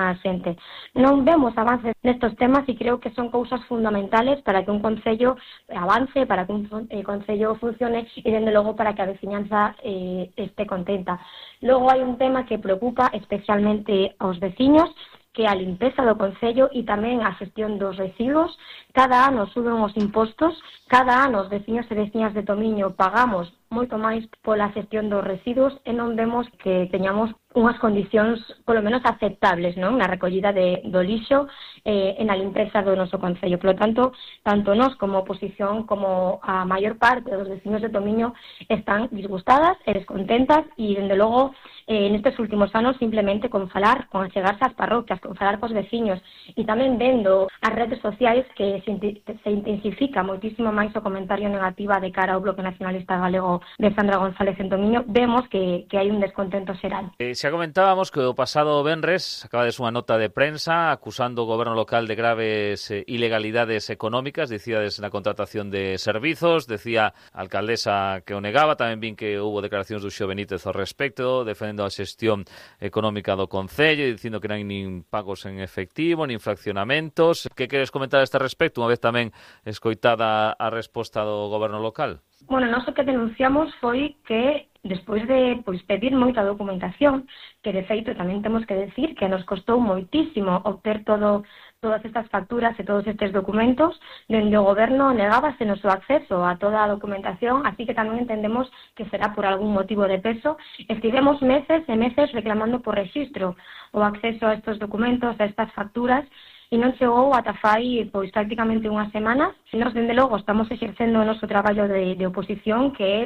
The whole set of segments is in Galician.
moitísima xente. Non vemos avances nestes temas e creo que son cousas fundamentales para que un concello avance, para que un concello funcione e, dende logo, para que a veciñanza este contenta. Logo hai un tema que preocupa especialmente aos veciños, que a limpeza do concello e tamén a xestión dos residuos. Cada ano suben os impostos, cada ano os veciños e veciñas de Tomiño pagamos moito máis pola xestión dos residuos e non vemos que teñamos unhas condicións polo menos aceptables, non, na recollida do lixo e na limpeza do noso concello. Por lo tanto, tanto nós como oposición como a maior parte dos veciños de Tomiño están disgustadas e descontentas e, dende logo, nestes últimos anos simplemente con falar, con achegarse ás parroquias, con falar cos veciños e tamén vendo as redes sociais que se intensifica moitísimo máis o comentario negativa de cara ao Bloque Nacionalista Galego de Sandra González en Tomiño, vemos que hai un descontento xeral. Xa comentábamos que o pasado venres acabades unha nota de prensa acusando o goberno local de graves ilegalidades económicas, dicíades na contratación de servizos, decía a alcaldesa que o negaba, tamén vin que houve declaracións do Xo Benítez ao respecto, defendendo a xestión económica do concello, dicindo que non hai nin pagos en efectivo, nin fraccionamentos. Que queres comentar a este respecto, unha vez tamén escoitada a resposta do goberno local? Bueno, nós o que denunciamos foi que despois de pedir moita documentación, que de feito tamén temos que decir que nos costou moitísimo obter todas estas facturas e todos estes documentos, dende o goberno negábase o seu acceso a toda a documentación, así que tamén entendemos que será por algún motivo de peso. Estivemos meses e meses reclamando por rexistro o acceso a estes documentos, a estas facturas, e non chegou ata fai prácticamente unhas semanas. Nós, dende logo, estamos exercendo o noso traballo de oposición, que é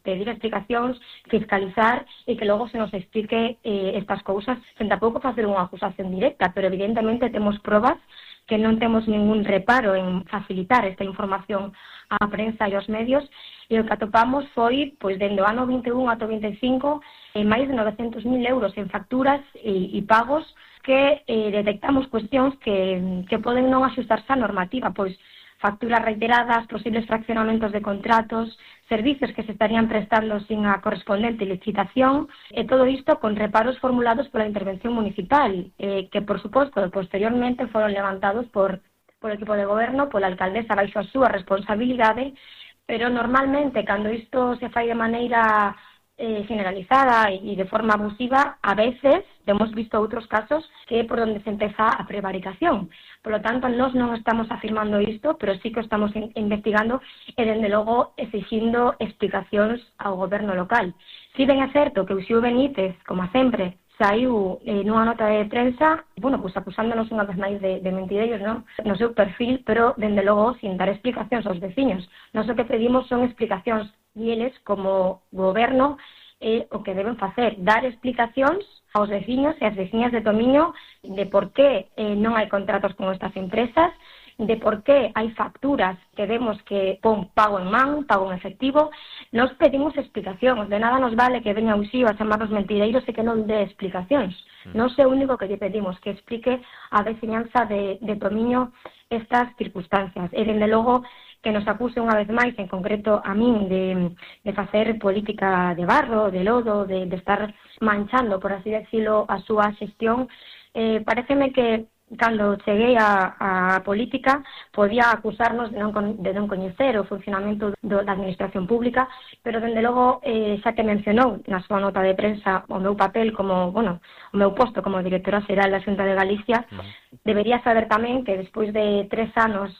pedir explicacións, fiscalizar e que logo se nos explique estas cousas, sen tampouco facer unha acusación directa, pero evidentemente temos probas que non temos ningún reparo en facilitar esta información á prensa e aos medios, e o que atopamos foi, dende o ano 21 ata o 25, máis de 900.000 euros en facturas e pagos que detectamos cuestións que poden non axustarse á normativa, facturas reiteradas, posibles fraccionamentos de contratos, servizos que se estarían prestando sin a correspondente licitación, e todo isto con reparos formulados pola intervención municipal, que, por suposto, posteriormente foron levantados por equipo de goberno, pola alcaldesa baixo a súa responsabilidade, pero normalmente, cando isto se fai de maneira generalizada e de forma abusiva, a veces hemos visto outros casos que é por onde se empeza a prevaricación. Por lo tanto, nós non estamos afirmando isto, pero sí que estamos investigando e, dende logo, exigindo explicacións ao goberno local. Si ben é certo que o Xo Benítez, como sempre, saiu nunha nota de prensa, acusándonos unha vez máis de mentireiros, non? No seu perfil, pero, dende logo, sin dar explicacións aos veciños. Nós o que pedimos son explicacións e eles, como goberno, o que deben facer, dar explicacións aos veciños e ás veciñas de Tomiño de por que non hai contratos con estas empresas, de por qué hai facturas que vemos que pon pago en man, pago en efectivo. Nos pedimos explicacións, de nada nos vale que veña o Xío a chamarnos mentireiros e que non dé explicacións. Non é o único que lle pedimos, que explique a veciñanza de Tomiño estas circunstancias. E, dende logo, que nos acuse unha vez máis, en concreto a min, de facer política de barro, de lodo, de estar manchando, por así decirlo, a súa xestión. Pareceme que cando cheguei á política podía acusarnos de non coñecer o funcionamento da administración pública, pero, dende logo, xa que mencionou na súa nota de prensa o meu papel como, o meu posto como directora xeral da Xunta de Galicia, debería saber tamén que despois de 3 anos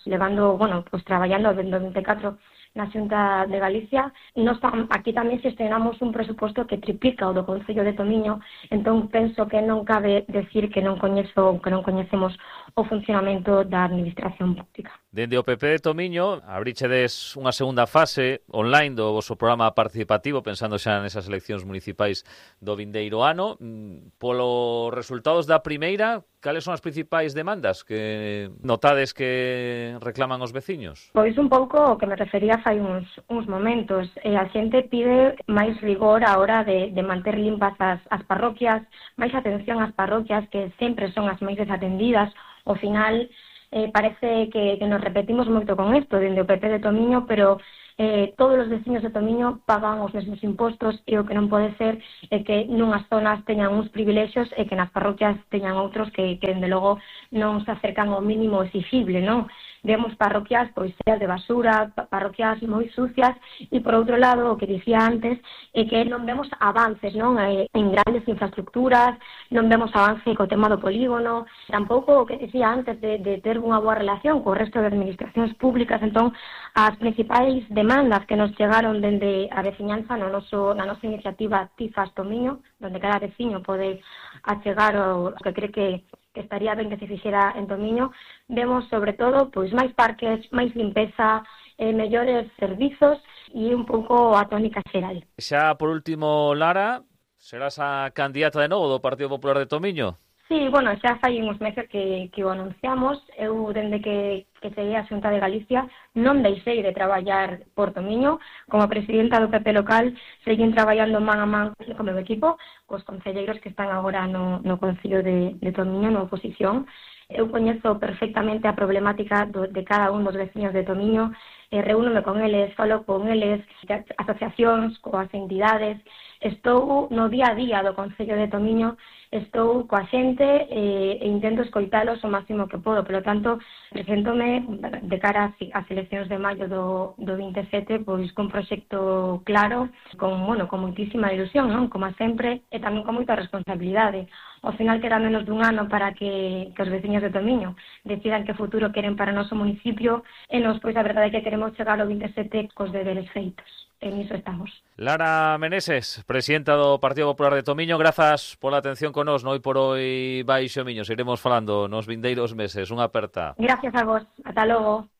traballando desde 2024 na Xunta de Galicia, nós aquí tamén xestionamos un presuposto que triplica o do Concello de Tomiño, entón penso que non cabe decir que non coñecemos o funcionamento da administración pública. Dende o PP de Tomiño, abrichedes unha segunda fase online do voso programa participativo, pensando xa nesas eleccións municipais do vindeiro ano. Polos resultados da primeira, cales son as principais demandas que notades que reclaman os veciños? Pois un pouco o que me refería fai uns momentos. A xente pide máis rigor a hora de manter limpas as parroquias, máis atención ás parroquias que sempre son as máis desatendidas. Ao final, parece que nos repetimos moito con isto dende o PP de Tomiño, pero todos os veciños de Tomiño pagan os mesmos impostos e o que non pode ser é que nunhas zonas teñan uns privilexios e que nas parroquias teñan outros que dende logo non se acercan ao mínimo exigible, non? Vemos parroquias pois cheas de basura, parroquias moi sucias e por outro lado, o que dicía antes, é que non vemos avances, non? En grandes infraestructuras, non vemos avance co tema do polígono, tampouco o que dicía antes de ter unha boa relación co resto de administracións públicas. Entón, as principais demandas que nos chegaron dende a veciñanza na nosa iniciativa Tifas Tomiño, onde cada veciño pode achegar o que cree que estaría ben que se fixera en Tomiño, vemos sobre todo pois máis parques, máis limpeza, mellores servizos e un pouco a tónica xeral. Xa por último, Lara, serás a candidata de novo do Partido Popular de Tomiño? Sí, bueno, xa fai uns meses que o anunciamos. Eu, dende que cheguei á Xunta de Galicia, non deixei de traballar por Tomiño. Como presidenta do PP local, seguín traballando man a man co meu equipo, cos concelleiros que están agora no Concello de Tomiño, na oposición. Eu coñezo perfectamente a problemática de cada un dos veciños de Tomiño, reúnome con eles, falo con eles, asociacións, coas entidades. Estou no día a día do Concello de Tomiño, estou coa xente e intento escoitalos o máximo que podo. Polo tanto, preséntome de cara ás eleccións de maio do 27, pois con proxecto claro, con moitísima ilusión, non? Como sempre, e tamén con moita responsabilidade. Ao final queda menos dun ano para que os veciños de Tomiño decidan que futuro queren para o noso municipio e nos, pois, a verdade é que queremos chegar ao 27 cos deberes feitos. En iso estamos. Lara Meneses, presidenta do Partido Popular de Tomiño, grazas pola atención con nos, noi por hoy baixo Miño. Seguiremos falando nos vindeiros meses. Unha aperta. Gracias a vos. Ata logo.